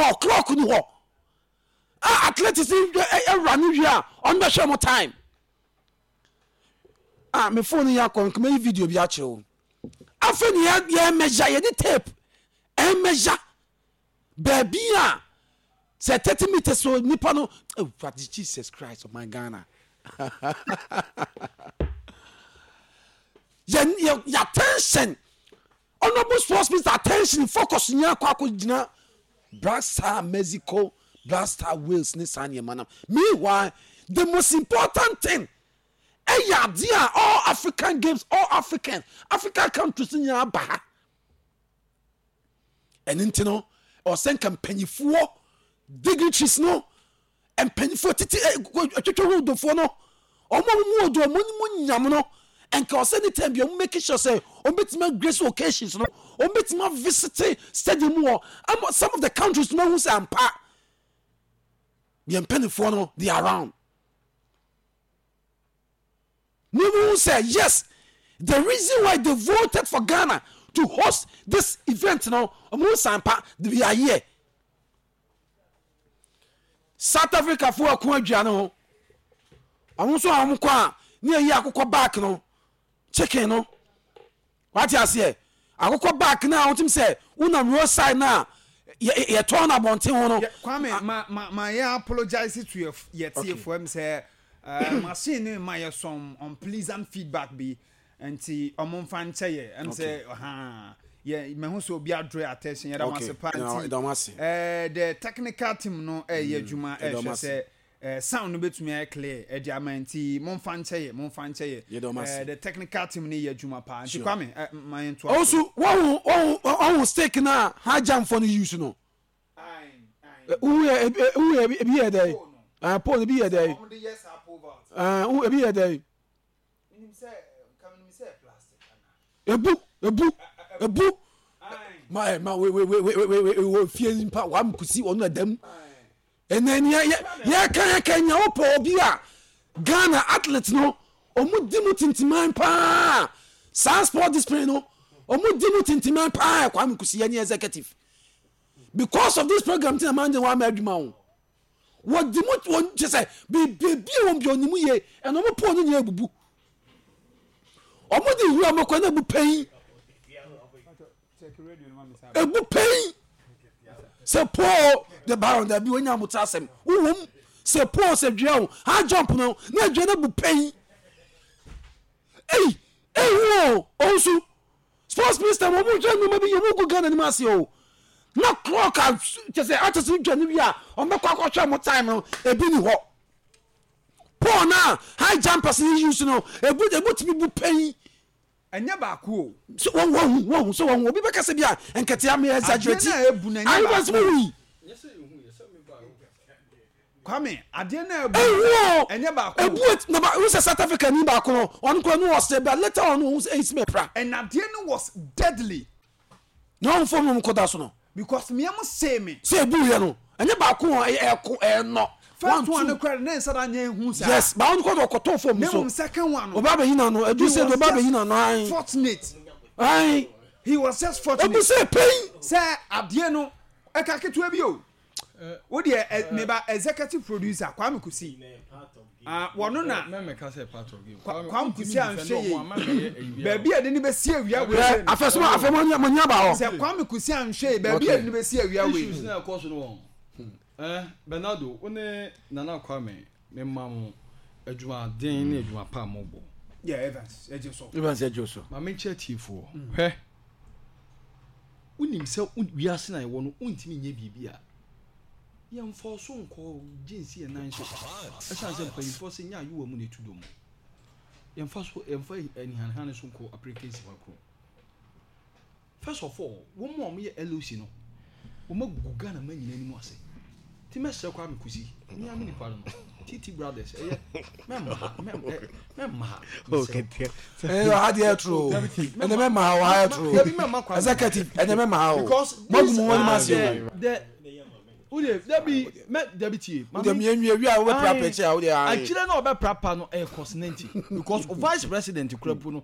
hɔ, clock ni hɔ a athletics awura no wie a ɔno bɛhwɛ mo time. Ah, me phone yɛ akɔ nkoma yi video bi akyerɛ wo. Afei ne yɛ measure, yɛde tape ɛmeasure baabi a sɛ 30 meters so nipa no. Awurade Jesus Christ ɔman Ghana, yɛ yɛ attention, honourable sports minister attention, focus nyɛ akɔ akɔ gyina Black Star Mexico, Black Star Wales ne saa nneɛma no. Meanwhile, the most important thing ɛyɛ adeɛ a all African Games, all African countries nyinaa ba ha. Ɛno nti no, ɔsɛ nka mpanyifoɔ, dignitaries no, mpanyinfoɔ titi atwitwa ho dofoɔ no, ɔmo a wɔn mu odo, ɔmo mu nyam no, nka ɔsɛ ne time bi ɔmo make sure sɛ ɔmo betumi agrace occasions no, ɔmo betumi avisit stadium wɔ ama some of the countries no ahu sɛ ampa yɛn mpanimfoɔ no, they are around. Ne mu sɛ yes, the reason why they voted for Ghana to host this event no, ɔmo sampa we are here. South Africa fo ɛko aduane ho, ɔmo nso a ɔmo kɔ a ne yɛyi akokɔ back no, chicken no, wate aseɛ, akokɔ back no a wotim sɛ wonam roadside no a yɛtɔn no abɔnten ho no. Kwame, ma yɛ apologize to yɛ tiefoɔ m sɛ machine no ma yɛ some unpleasant feedback bi, nti ɔmo nfa nkyɛ yɛ sɛ ha yɛ mɛho sɛ obi adraw attention. Yɛda mo ase pa. Nti the technical team no ɛyɛ adwuma, ɛhwɛ sɛ sound no bɛtumi ayɛ clear ɛde ama, nti momfa nkyɛ yɛ, momfa nkyɛ yɛ. The technical team no yɛ adwuma paa. Nti Kwame, ma yɛn to aso. Ɔnso wɔhu stick na high jump fo no use no, wohu yɛ, wohu yɛ ebi yɛ dɛ pole ebi yɛ dɛ, wohu ebi yɛ dɛ, ebu ebu ebu ma ɛ ma we we we we we we wɔ fie nipa wam kusi ɔno ɛdɛm. Ɛnɛ ni yɛ yɛka yɛka nya wopɛ obi a Ghana athlete no ɔmo di mu tintiman paa, saa sport discipline no ɔmo di mu tintiman paa, Kwame Kusi yɛ ne executive. Because of this program ti na maa n de wɔn ama adwuma o, wɔdi mu wɔn kyɛ sɛ beebi a wɔn bi ɔnim yie, ɛna ɔmo pɔn no nyinaa ebubu, ɔmo de wura ɔmo kɔ na ebu pɛn, ebu pɛn sɛ paul the baron dabi onya abotire asɛm wowom sɛ paul sɛ dua o, high jump no na dua no bu pɛn. Ei, ehu o. Ɔnso sports minister wɔn mo hwɛ nneɛma bi yɛ wɔn gu Ghana anim ase o, na clock a kyɛ sɛ akyɛ sɛ dwa no wie a wɔn bɛkɔ akɔhwɛ mo time no, ebi ni hɔ. Paul na high jumpers ni use no, ebu tumi bu pɛn. Ɛnyɛ baako o. Sɛ wɔn hu sɛ wɔn hu obi bɛka sɛ bi a nketea mi exaggerate. Adeɛ na ebu na ɛnyɛ baako. Ayi bɛ wi. Kwame, adeɛ na ebu o, ɛnyɛ baako. Ebu et na ba sɛ South Africa ni baako no, ɔno kora no ɔsɛ, but later on ohun sɛ eyi si mɛ pra. And adeɛ no was deadly. Na wɔn fɔm nom kɔda so no. Because mmea mo see me. Sɛ ebu yɛ no, ɛnyɛ baako o, ɛyɛ ɛko ɛnɔ. First one no kora ne nsa da nyɛ ehu saa. Yes, baako no kɔ ɔkɔtɔ fɔm so. Ne mu second one no. Ɔba abɛyi na no, edu sɛ ɔba abɛyi na no ayi. Fortunate. Ayi. He was just fortunate. Ebu sɛ pɛn. Sɛ adeɛ no ɛka ketewa bi o. Wo deɛ, meba executive producer Kwame Kusi, wɔno na Kwame Kusi anhwɛ yie baabi a yɛde ne bɛsi awia wei sɛ afɛsoma afɛmɔ mo nya ba hɔ. Sɛ Kwame Kusi anhwɛ yie baabi a yɛde ne bɛsi awia wei. Issues na ɛkɔ so no wɔn Bernardo, wo ne Nana Kwame, me ma mo adwumaden ne adwuma pa a mobɔ. Yeah, Evans ɛgye so. Evans ɛgye so. Maame nkyɛn tiefoɔ, hwɛ, wonim sɛ wiase na yɛwɔ no, wontumi nyɛ biribi a yɛmfa so nkɔ gye nsi yɛn nan so, ɛsiane sɛ mpanyinfoɔ sɛ nyɛ ayowa mu na ɛtu dɔ mu, yɛmfa so, yɛmfa anihanehane so nkɔ apirike nsi hɔ koro. First of all, wɔn a wɔyɛ LOC no, wɔn agu Ghana ma nyina anim ase, nti mɛsrɛ Kwame Kusi, mea me nipa no, TT Brothers, ɛyɛ mɛmma ha, mɛmma ha. Ɛnɛ ha deɛ ɛtoro, ɛnɛ mɛmma ha, wɔ ha ɛtoro, executive, ɛnɛ mɛmma ha o, mo agu mo wɔn anim ase o. Wode dabi mɛ dabi tie. Wode mi enwie wi a wobɛ pra pɛkyɛ a wode ayi. Akyire na ɔbɛ pra pa no ɛyɛ kɔsinɛnti because vice president kura po no.